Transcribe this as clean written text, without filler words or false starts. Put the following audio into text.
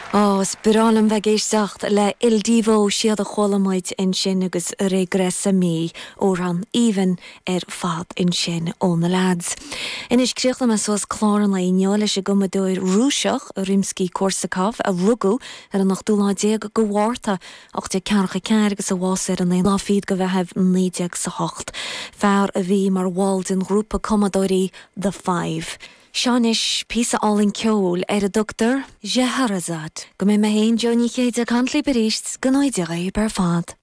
Ó, is breá liom bheith ag éisteacht le Il Divo, siad a chuala muid ansin agus Regressa Mi, amhrán aoibhinn ar fad ansin ó na leaids. Anois, críochnóidh mé suas clár an lae inniu leis an gcumadóir Rúiseach, Rimsky-Korsakov, a rugadh ar an ochtú lá déag de Mhárta, 1844 agus a bhásaigh ar an aon lá fichead de Mheitheamh, 1908. Fear a bhí mar bhall den ghrúpa cumadóirí The Five. Seo anois píosa álainn ceoil ar a dtugtar Scheherazade. Go mbeidh mé féin, Jó Ní Chéide, ag caint libh arís, go ngnóthaí Dia dhaoibh ar fad.